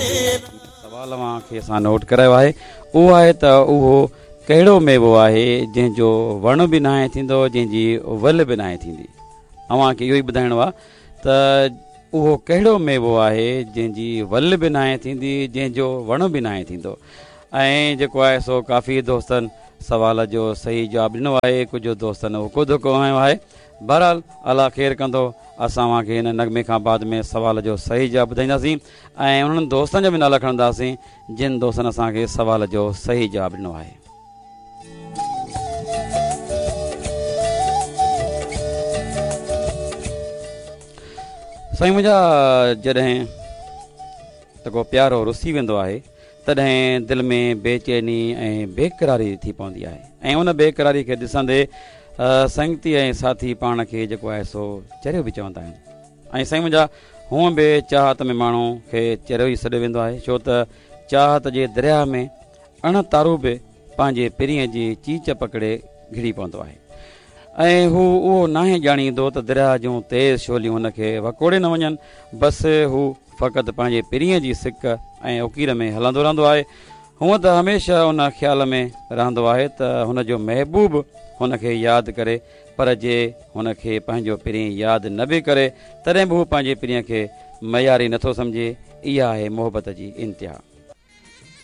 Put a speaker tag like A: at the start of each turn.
A: سوال اوهان کي اسان نوٽ ڪرايو آهي اهو آهي ته اهو ڪهڙو ميوو آهي جنهن جو وڻ به ناهي ٿيندو جنهن جي ول به ناهي ٿيندي اوهان کي اهو ئي ٻڌائڻو آهي ته اهو ڪهڙو ميوو آهي جنهن جي ول به ناهي ٿيندي جنهن جو وڻ به ناهي ٿيندو ۽ جيڪو آهي سو ڪافي دوستن سوال جو صحيح جواب ڏنو آهي ڪجهه دوستن اڪو ڌڪو هنيو آهي بهرحال الله خير ڪندو اسان اوهان کي هن نغمي کان بعد ۾ سوال جو صحيح جواب ٻڌائينداسين ۽ انهن دوستن جا به نالا کڻنداسين جن دوستن اسان کي سوال جو صحيح جواب ڏنو آهي. سائين منهنجا جڏهن ته ڪو پيارو رسي ويندو آهي تڏهن دل ۾ بيچيني ۽ بيقراري ٿي پوندي آهي ۽ ان بيقراري کي ڏسندي سنگتي ۽ ساٿي پاڻ کي جيڪو آهي سو چريو به چوندا آهن ۽ سائين منهنجا هونء به چاهت ۾ ماڻهو کي چريو ئي سڏيو ويندو آهي ڇو ته چاهت جي درياهه ۾ اڻ تارو به پنهنجي پرينء جي چيچ پڪڙي گهڙي پوندو آهي ۽ هو اهو ناهي ڄاڻيندو ته درياهه جون تيز شعليون هن کي وڪوڙي نه وڃن بس هو فقط پنهنجي پرينء جي سڪ ۽ اڪير ۾ هلندو رهندو آهي. هونء ته هميشه ان خيال ۾ رهندو آهي ته هن جو محبوب هن کي ياد ڪري پر جي هن کي پنهنجو پرين ياد نه به ڪري تڏهن به هو پنهنجي پرينء کي مياري نٿو سمجهي. اها آهي محبت جي انتها.